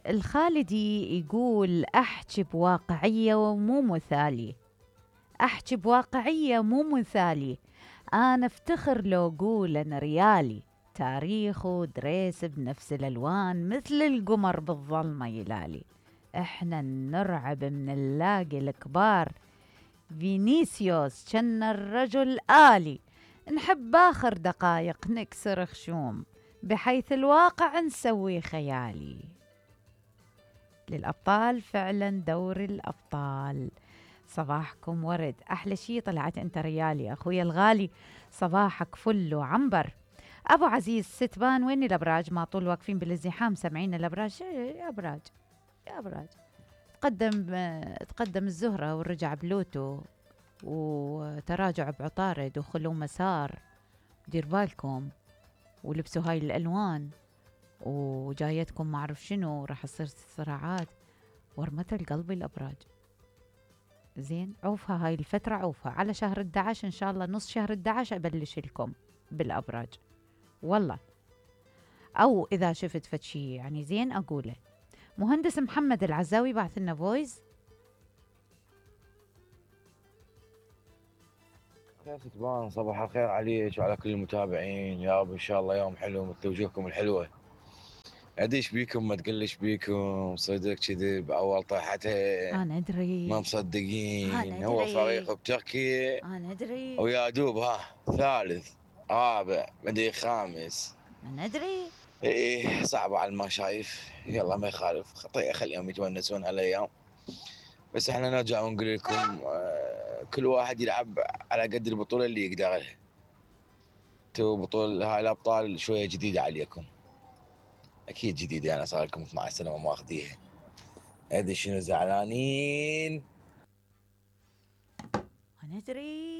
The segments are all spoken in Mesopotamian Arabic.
الخالدي يقول احكي بواقعية ومو مثالي، احكي بواقعية مو مثالي، انا افتخر لو اقول انا ريالي، تاريخ ودريس بنفس الالوان مثل القمر بالظلمة يلالي، احنا نرعب من نلاقي الكبار، فينيسيوس كان الرجل آلي، نحب آخر دقايق نكسر خشوم، بحيث الواقع نسوي خيالي. للأبطال فعلا دور الأبطال. صباحكم ورد، أحلى شي طلعت أنت ريالي أخويا الغالي، صباحك فل وعنبر. أبو عزيز ستبان وين الأبراج؟ ما طول واقفين بالازدحام سمعين الأبراج؟ يا أبراج يا أبراج، تقدم الزهرة ورجع بلوتو، وتراجع بعطارد وخلو مسار، دير بالكم ولبسوا هاي الألوان، وجايتكم ما أعرف شنو، راح تصير صراعات ورمت القلب الأبراج. زين عوفها هاي الفترة، عوفها على شهر 11 إن شاء الله، نص شهر 11 أبلش لكم بالأبراج والله، أو إذا شفت فتشي يعني زين أقوله. مهندس محمد العزاوي بعث لنا فويس. ستبان صباح الخير عليك وعلى كل المتابعين، يا رب ان شاء الله يوم حلو مثل وجوهكم الحلوه. اديش بيكم ما تقلش بيكم، صدق كذب اول طيحتها أنا أدري ما مصدقين. أنا هو أدري فريق بتركي أنا أدري ويا دوب ها ثالث رابع مدري خامس. أنا أدري. ايه صعبة على المشايف، يلا ما يخالف، خطيئة خليهم يتونسون هالايام. بس احنا نرجع ونقول لكم كل واحد يلعب على قد البطولة اللي يقدرها. تو بطولة هاي الابطال شوية جديدة عليكم، اكيد جديدة، انا صار لكم 12 سنة وما اخذيها. ادري شنو زعلانين. أنا أدري.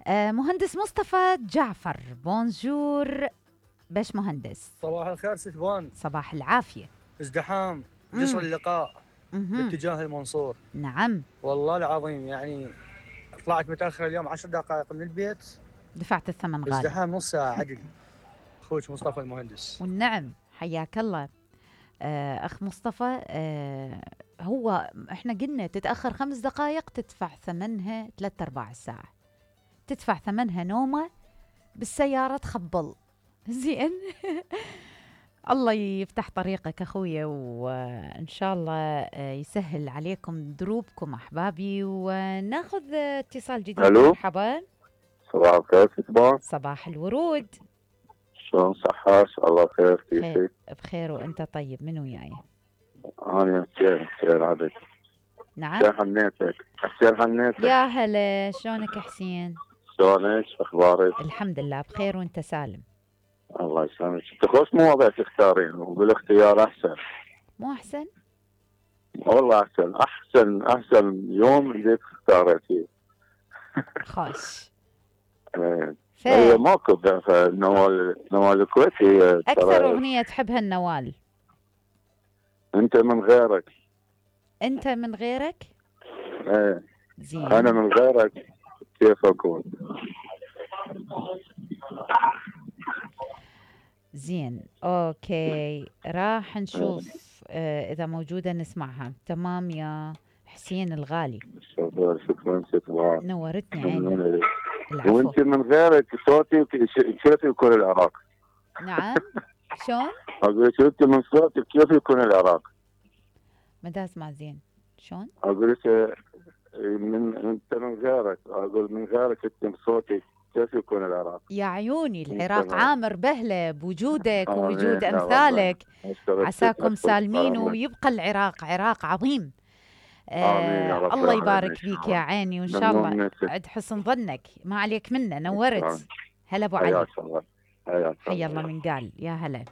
مهندس مصطفى جعفر، بونجور باش مهندس. صباح الخير ستبان. صباح العافية. ازدحام جسر اللقاء باتجاه المنصور. نعم والله العظيم يعني طلعت متأخر اليوم 10 دقائق من البيت، دفعت الثمن غالي. ازدحام نص ساعة عدل. اخوك مصطفى المهندس. والنعم حياك الله. أخ مصطفى، هو احنا قلنا تتأخر 5 دقائق تدفع ثمنها 3/4 الساعة، تدفع ثمنها نومة بالسيارة تخبل. زين الله يفتح طريقك أخويا، وإن شاء الله يسهل عليكم دروبكم أحبابي. وناخذ اتصال جديد. ألو. مرحبا. صباح الخير ستبان. صباح الورود. شلون صحة؟ الله خير كيفك؟ بخير وأنت طيب؟ من وياي؟ أنا حسين عبد. نعم حسين حنيتك. حسين حنيتك. يا هلا، شلونك حسين؟ شلونك؟ أخبارك؟ الحمد لله بخير وأنت سالم. الله يسلمك. انت خوش مواضيع تختارين وبالاختيار احسن. مو احسن؟ والله احسن يوم اللي اختارتيه. خوش. هي ماكو نوال الكويتي. اكثر اغنية تحبها النوال. انت من غيرك. انت من غيرك؟ ايه زين. انا من غيرك كيف اكون؟ زين اوكي، راح نشوف اذا موجودة نسمعها. تمام يا حسين الغالي. شكرا نورتني عيني. وانت من غيرك صوتي كيف يكون العراق؟ نعم شلون؟ اقول لك انت من صوتك كيف يكون العراق؟ ما دا اسمع زين. شلون؟ اقول لك انت من غيرك، اقول من غيرك انت من صوتك كيف يكون العراق؟ يا عيوني العراق عامر بهله بوجودك ووجود امثالك. عساكم سالمين ويبقى العراق عراق عظيم. الله يبارك فيك يا عيني، وان شاء الله عد حسن ظنك، ما عليك منا. نورت. هلا ابو علي. حياك الله. حيا الله من قال. يا هلا.